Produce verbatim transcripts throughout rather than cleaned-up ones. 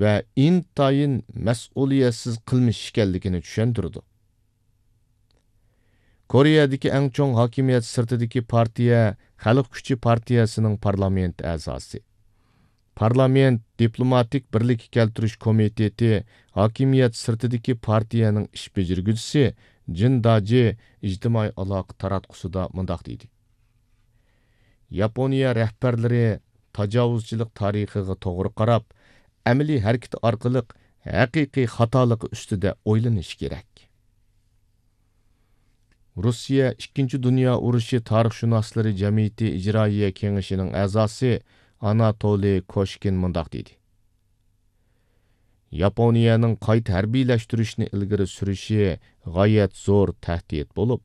ۋە ئىنتايىن مەسئۇلىيەتسىز قىلمىش ئىكەنلىكىنى چۈشەندۈرىدۇ. كورېيەدىكى ئەڭ چوڭ ھاكىمىيەت سىرتىدىكى پارتىيە خەلق كۈچى پارتىيەسىنىڭ پارلامېنت ئەزاسى، پارلامېنت دىپلوماتىك بىرلىككە كەلتۈرۈش كومىتېتى ھاكىمىيەت سىرتىدىكى پارتىيەنىڭ ئىش بېجىرگۈچىسى جىن داجى ئىجتىمائىي ئالاقە تاراتقۇسىدا مۇنداق دېدى: ياپونىيە رەھبەرلىرى تاجاۋۇزچىلىق تارىخىغا توغرا قاراپ، ئەمەلىي ھەرىكىتى ئارقىلىق ھەقىقىي خاتالىقى ئۈستىدە ئويلىنىشى كېرەك. روسىيە ئىككىنچى دۇنيا ئۇرۇشى تارىخشۇناسلىرى جەمئىيىتى ئىجرائىيە كېڭىشىنىڭ ئەزاسى ئاناتولىي كوشكىن مۇنداق دېدى: ياپونىيەنىڭ قايتا ھەربىيلەشتۈرۈشنى ئىلگىرى سۈرۈشى غايەت زور تەھدىت بولۇپ،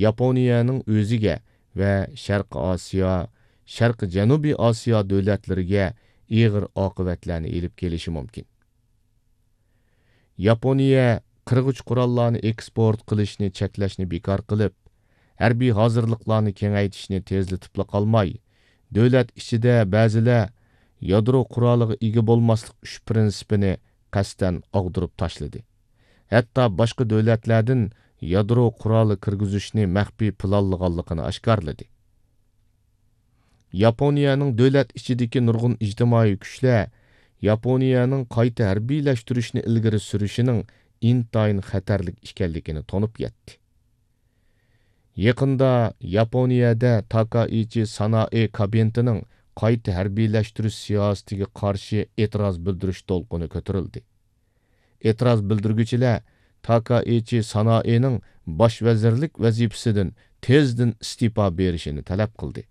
ياپونىيەنىڭ ئۆزىگە ۋە شەرقىي ئاسىيا، شەرقىي جەنۇبىي ئاسىيا دۆلەتلىرىگە ئېغىر ئاقىۋەتلەرنى ئېلىپ كېلىشى مۇمكىن. ياپونىيە قىرغۇچ قوراللارنى ئېكسپورت قىلىشنى چەكلەشنى بىكار قىلىپ، ھەربىي ھازىرلىقلارنى كېڭەيتىشنى تېزلىتىپلا قالماي، دۆلەت ئىچىدە بەزىلەر يادرو قورالىغا ئىگە بولماسلىق ئۈچ پىرىنسىپىنى قەستەن ئاغدۇرۇپ تاشلىدى. ھەتتا باشقا دۆلەتلەردىن يادرو قورالى كىرگۈزۈشنى مەخپىي پىلانلىغانلىقىنى ئاشكارىلىدى. ياپونىيەنىڭ دۆلەت ئىچىدىكى نۇرغۇن ئىجتىمائىي كۈچلەر ياپونىيەنىڭ قايتا ھەربىيلەشتۈرۈشنى ئىلگىرى سۈرۈشىنىڭ ئىنتايىن خەتەرلىك ئىكەنلىكىنى تونۇپ يەتتى. يېقىندا ياپونىيەدە تاكائىچى سانائې كابىنېتىنىڭ قايتا ھەربىيلەشتۈرۈش سىياسىتىگە قارشى ئېتىراز بىلدۈرۈش دولقۇنى كۆتۈرۈلدى. ئېتىراز بىلدۈرگۈچىلەر تاكائىچى سانائېنىڭ باش ۋەزىرلىك ۋەزىپىسىدىن تېزدىن ئىستېپا بېرىشىنى تەلەپ قىلدى.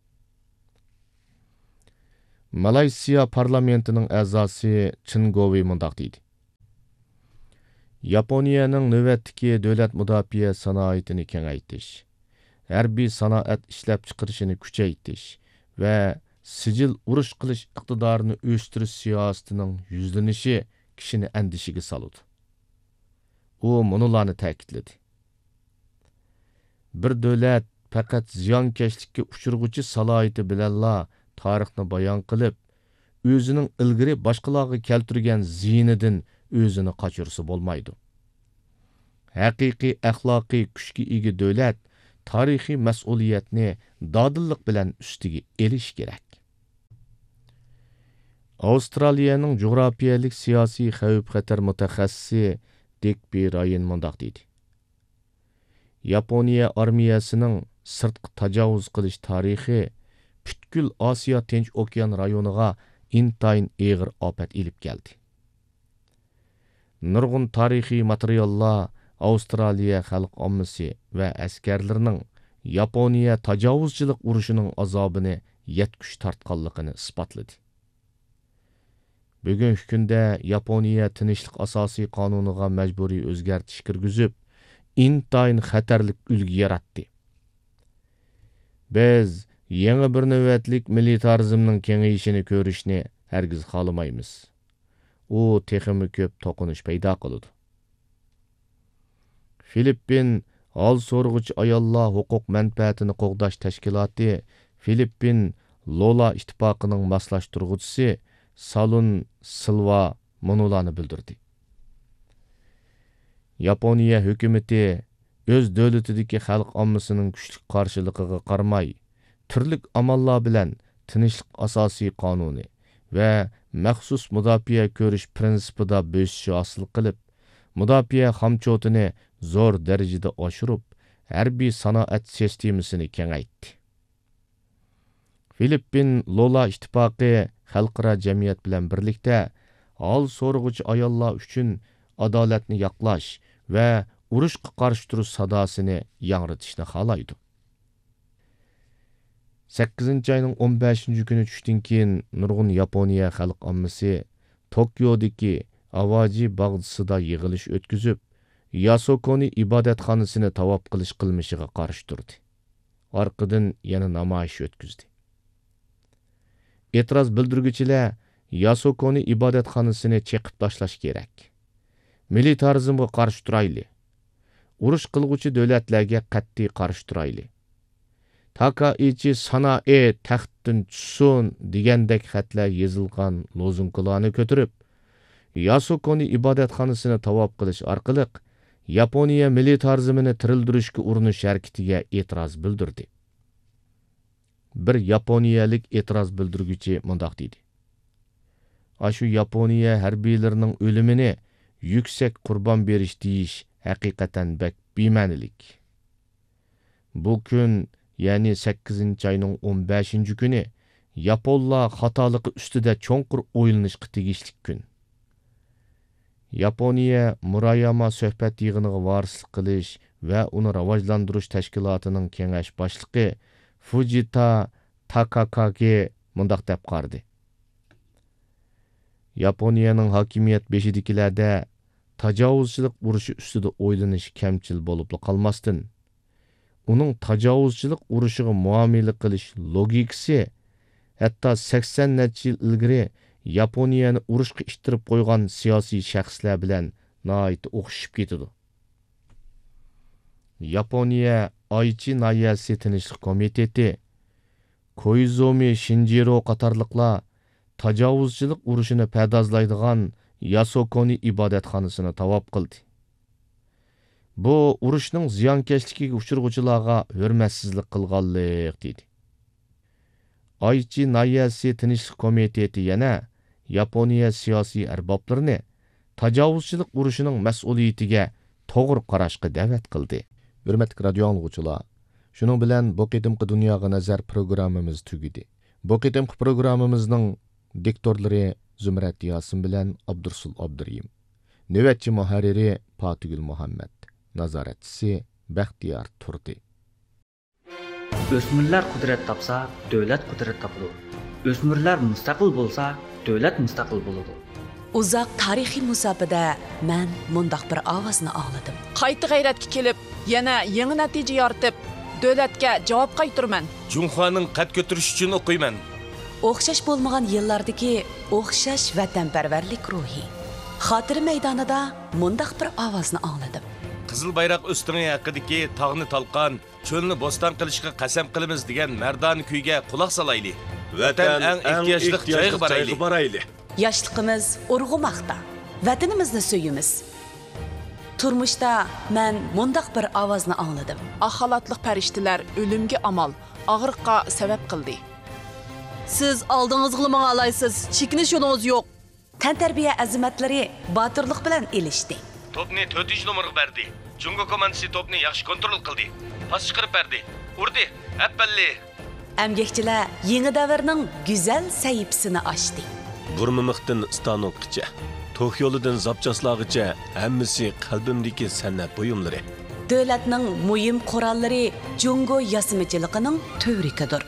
مالايسىيا پارلامېنتىنىڭ ئەزاسى چېن گوۋېي مۇنداق دېدى: ياپونىيەنىڭ نۆۋەتتىكى دۆلەت مۇداپىئە سانائىتىنى كېڭەيتىش، ھەربىي سانائەت ئىشلەپچىقىرىشىنى كۈچەيتىش ۋە سىجىل ئۇرۇش قىلىش ئىقتىدارىنى ئۆستۈرۈش سىياسىتىنىڭ يۈزلىنىشى كىشىنى ئەندىشىگە سالىدۇ. ئۇ مۇنۇلارنى تەكىتلىدى: بىر دۆلەت پەقەت زىيانكەشلىككە ئۇچرىغۇچى سالاھىيىتى بىلەنلا تارىخنى بايان قىلىپ، ئۆزىنىڭ ئىلگىرى باشقىلارغا كەلتۈرگەن زىيىنىدىن ئۆزىنى قاچۇرسا بولمايدۇ. ھەقىقىي ئەخلاقىي كۈچكە ئىگە دۆلەت تارىخىي مەسئۇلىيەتنى دادىللىق بىلەن ئۈستىگە ئېلىشى كېرەك. ئاۋسترالىيەنىڭ جۇغراپىيەلىك سىياسىي خەۋپ-خەتەر مۇتەخەسسىسى دىك بى رايان مۇنداق دېدى: ياپونىيە ئارمىيەسىنىڭ سىرتقا تاجاۋۇز قىلىش تارىخى پۈتكۈل ئاسىيا تىنچ ئوكيان رايونىغا ئىنتايىن ئېغىر ئاپەت ئېلىپ كەلدى. نۇرغۇن تارىخىي ماتېرىياللار ئاۋسترالىيە خەلق ئاممىسى ۋە ئەسكەرلىرىنىڭ ياپونىيە تاجاۋۇزچىلىق ئۇرۇشىنىڭ ئازابىنى يەتكۈچە تارتقانلىقىنى ئىسپاتلىدى. بۈگۈنكى كۈندە ياپونىيە تىنچلىق ئاساسىي قانۇنىغا مەجبۇرىي ئۆزگەرتىش كىرگۈزۈپ، ئىنتايىن خەتەرلىك ئۈلگە ياراتتى. بىز يېڭى بىر نۆۋەتلىك مىلىتارىزمنىڭ كېڭىيىشىنى كۆرۈشنى ھەرگىز خالىمايمىز. ئۇ تېخىمۇ كۆپ توقۇنۇش پەيدا قىلىدۇ. فىلىپپىن ھال سورىغۇچى ئاياللار ھوقۇق مەنپەئەتىنى قوغداش تەشكىلاتى فىلىپپىن لولا ئىتتىپاقىنىڭ ماسلاشتۇرغۇچىسى سالۇن سىلۋا مۇنۇلارنى بىلدۈردى: ياپونىيە ھۆكۈمىتى ئۆز دۆلىتىدىكى خەلق ئاممىسىنىڭ كۈچلۈك قارشىلىقىغا قارىماي، تۈرلۈك ئاماللار بىلەن تىنچلىق ئاساسىي قانۇنى ۋە مەخسۇس مۇداپىئە كۆرۈش پىرىنسىپىدا بۆسۈش ھاسىل قىلىپ، مۇداپىئە خامچوتىنى زور دەرىجىدە ئاشۇرۇپ، ھەربىي سانائەت سىستېمىسىنى كېڭەيتتى. فىلىپپىن لولا ئىتتىپاقى خەلقئارا جەمئىيەت بىلەن بىرلىكتە ھال سورىغۇچى ئاياللار ئۈچۈن ئادالەتنى ياقلاش ۋە ئۇرۇشقا قارشى تۇرۇش ساداسىنى ياڭرىتىشنى خالايدۇ. سەككىزىنچى ئاينىڭ ئون بەشىنچى كۈنى چۈشتىن كېيىن نۇرغۇن ياپونىيە خەلق ئاممىسى توكيودىكى ئاۋاجى باغچىسىدا يىغىلىش ئۆتكۈزۈپ، ياسوكونى ئىبادەتخانىسىنى تاۋاپ قىلىش قىلمىشىغا قارشى تۇردى. ئارقىدىن يەنە نامايىش ئۆتكۈزدى. ئېتىراز بىلدۈرگۈچىلەر ياسوكونى ئىبادەتخانىسىنى چېقىپ تاشلاش كېرەك. مىلىتارىزمغا قارشى تۇرايلى. ئۇرۇش قىلغۇچى دۆلەتلەرگە قەتئىي قارشى تۇرايلى. تاكائىچى سانائې تەختتىن چۈشسۇن دېگەندەك خەتلەر يېزىلغان لوزۇنكىلارنى كۆتۈرۈپ، ياسۇكونى ئىبادەتخانىسىنى تاۋاپ قىلىش ئارقىلىق ياپونىيە مىلىتارىزمىنى تىرىلدۈرۈشكە ئۇرۇنۇش ھەرىكىتىگە ئېتىراز بىلدۈردى. بىر ياپونىيەلىك ئېتىراز بىلدۈرگۈچى مۇنداق دېدى: «ئاشۇ ياپونىيە ھەربىيلىرىنىڭ ئۆلۈمىنى يۈكسەك قۇربان بېرىش دېيىش ھەقىقەتەن بەك بىمەنىلىك. بۇ كۈن، يەنى سەككىزىنچى ئاينىڭ ئون بەشىنچى كۈنى، ياپونلار خاتالىقى ئۈستىدە چوڭقۇر ئويلىنىشقا تېگىشلىك كۈن.» ياپونىيە مۇراياما سۆھبەت يىغىنىغا ۋارىسلىق قىلىش ۋە ئۇنى راۋاجلاندۇرۇش تەشكىلاتىنىڭ كېڭەش باشلىقى فۇجىتا تاكاكاگې مۇنداق دەپ قارىدى: «ياپونىيەنىڭ ھاكىمىيەت بېشىدىكىلەردە تاجاۋۇزچىلىق ئۇرۇشى ئۈستىدە ئويلىنىش كەمچىل بولۇپلا قالماستىن، ئۇنىڭ تاجاۋۇزچىلىق ئۇرۇشىغا مۇئامىلە قىلىش لوگىكىسى ھەتتا سەكسەن نەچچە يىل ئىلگىرى ياپونىيەنى ئۇرۇشقا ئىتتىرىپ قويغان سىياسىي شەخسلەر بىلەن ناھايىتى ئوخشىشىپ كېتىدۇ.» ياپونىيە ئايچى ناھىيەسى تىنچلىق كومىتېتى، كويزۇمى شىنجىرو قاتارلىقلار تاجاۋۇزچىلىق ئۇرۇشىنى پەردازلايدىغان ياسوكونى ئىبادەتخانىسىنى تاۋاپ قىلدى. بۇ ئۇرۇشنىڭ زىيانكەشلىكىگە ئۇچرىغۇچىلارغا ھۆرمەتسىزلىك قىلغانلىق، دېدى. ئايچى ناھىيەسى تىنچلىق كومىتېتى يەنە ياپونىيە سىياسىي ئەربابلىرىنى تاجاۋۇزچىلىق ئۇرۇشىنىڭ مەسئۇلىيىتىگە توغرا قاراشقا دەۋەت قىلدى. ھۆرمەتلىك رادىيو ئاڭلىغۇچىلار، شۇنىڭ بىلەن بۇ قېتىمقى دۇنياغا نەزەر پروگراممىمىز تۈگىدى. بۇ قېتىمقى پروگراممىمىزنىڭ دىكتورلىرى زۇمرەت ياسىن بىلەن ئابدۇرسۇل ئابدۇرېھىم. نۆۋەتچى مۇھەررىرى پاتىگۈل مۇھەممەت. نازارەتچىسى بەختىيار تۇردى. ئۆسمۈرلەر قۇدرەت تاپسا، دۆلەت قۇدرەت تاپىدۇ. ئۆسمۈرلەر مۇستەقىل بولسا، دۆلەت مۇستەقىل بولىدۇ. ئۇزاق تارىخىي مۇساپىدە مەن مۇنداق بىر ئاۋازنى ئاڭلىدىم. قايتا غەيرەتكە كېلىپ، يەنە يېڭى نەتىجە يارىتىپ، دۆلەتكە جاۋاب قايتۇرىمەن. جۇڭخۇانىڭ قەد كۆتۈرۈشى ئۈچۈن ئوقۇيمەن. ئوخشاش بولمىغان يىللاردىكى ئوخشاش ۋەتەنپەرۋەرلىك روھى. خاتىرە مەيدانىدا مۇنداق بىر ئاۋازنى ئاڭلىدىم. قىزىل بايراق ئۆستىڭى ھەققىدىكى تاغنى تالقان، چۆلنى بوستان قىلىشقا قەسەم قىلىمىز دېگەن مەردانە كۈيگە قۇلاق سالايلى. ۋەتەن ئەڭ ئېھتىياجلىق جايغا بارايلى. ياشلىقىمىز ئۇرغۇماقتا، ۋەتىنىمىزنى سۆيىمىز. تۇرمۇشتا مەن مۇنداق بىر ئاۋازنى ئاڭلىدىم. ئاق خالاتلىق پەرىشتىلەر ئۆلۈمگە ئامال، ئاغرىققا سەۋەب قىلدى. سىز ئالدىڭىزغىلا ماڭالايسىز، چېكىنىش يولىڭىز يوق. تەنتەربىيە ئەزىمەتلىرى باتۇرلۇق بىلەن ئېلىشتى. توپنى تۆتىنچى نومۇرغا بەردى. جۇڭگو كوماندىسى توپنى ياخشى كونترول قىلدى. پاس چىقىرىپ بەردى. ئۇردى. ئەپپەللى! ئەمگەكچىلەر يېڭى دەۋرنىڭ گۈزەل سەھىپىسىنى ئاچتى. بۇرمىمىقتىن ئىستانوكقىچە، توك يولىدىن زاپچاسلارغىچە ھەممىسى قەلبىمدىكى سەنئەت بۇيۇملىرى. دۆلەتنىڭ مۇھىم قوراللىرى جۇڭگو ياسىمىچىلىقىنىڭ تۈۋرۈكىدۇر.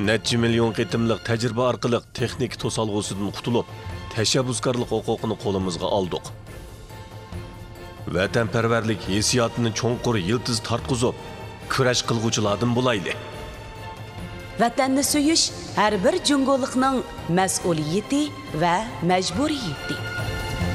نەچچە مىليون قېتىملىق تەجرىبە ئارقىلىق تېخنىكا توسالغۇسىدىن قۇتۇلۇپ، تەشەببۇسكارلىق ھوقۇقىنى قولىمىزغا ئالدۇق. ۋەتەنپەرۋەرلىك ھېسسىياتىنى چوڭقۇر يىلتىز تارتقۇزۇپ، كۈرەش قىلغۇچىلاردىن بولايلى. ۋەتەننى سۆيۈش ھەر بىر جۇڭگولۇقنىڭ مەسئۇلىيىتى ۋە مەجبۇرىيىتى.